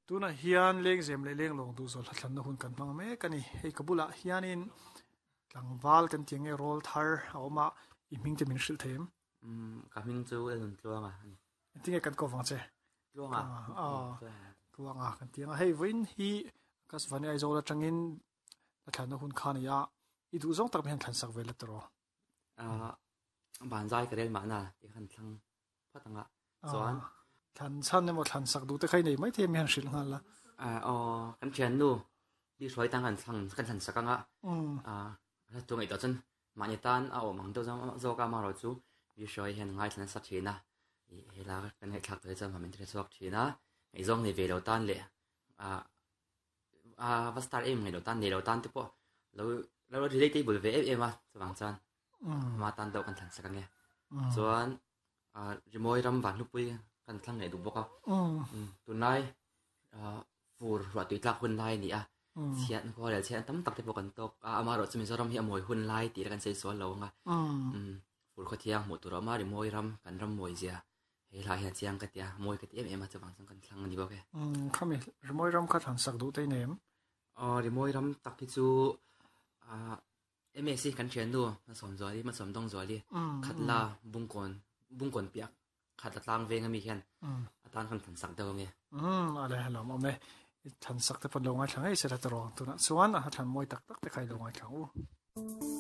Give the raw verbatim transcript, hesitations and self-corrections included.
Tunah hian lengzem leh lenglawng duh zawl hla thlanna hun kan hmang mek a ni. Hei ka bulah hianin tlangval kan tih ang nge rawl thar a awm a, i hming te min hrilh thei em? Umm ka hming chu Elnun Tluanga a ni. Engtinge kan kawp vang che? Tluanga. Aw Tluanga kan tih ang a. Hei vawiin hi Akashvani Aizawl atangin hla thlanna hun kha a ni a, i duh zawng tak mai hian thlan sak ve la tawh rawh. Aaa banzai ka rel mahna tih khan thlang phawt ang a, chuan. Thlan chhan emaw thlan sak duh te kha i nei maithei emi han hrilh nghal la. Aaa aw kan thiannu bi hruai tan kan thlang kan thlan sak ang a, aaa a chu ngaihtuah chuan mahni tan a awm ang deuh zawk a amaherawh chu bi hruai hian ngaithla nasa thin a, ih helai kan ngaihthlak tawh hi chuan min hre chhuak thin a, ngaihzawng nei ve lo tan leh aaa aa va star em ngaih lo tan nei lo tan te pawh lo lo relatable ve em em a chuvang chuan ama tan deuh kan thlan sak ang e. Chuan aa rimawi ram van hlupui kan thlang leh duh bawk a, tunlai aa fur ruah tui tlak hun lai a ni a, chhiat khua leh chhiat tam tak te pawh kan tawk a, amaherawh chu Mizoram hi a mawi hun lai tih kan sawi sual lo ang a, fur khawthiang hmuh tur a awm a, rimawi ram kan ram mawi zia he hlai hian chiang ka ti a, mawi ka ti em em a chuvang chuan kan thlang a ni bawk e. Khami rimawi ram kha thlan sak duh te i nei em? Aw rimawi ram tak hi chu ah M S C kan thiannu Hmasawm Zuali Hmasawm Dawng Zuali Khatla Bungkawn Bungkawn piah Khatla tlang veng ami hian a tan khan thlan sak deuh ange. Umm a le hlawm awm e. I thlan sak te pawn lo ngaithla ngei se la tawh tunah chuan a thlan mawi tak tak te kha i lo ngaithla ang u.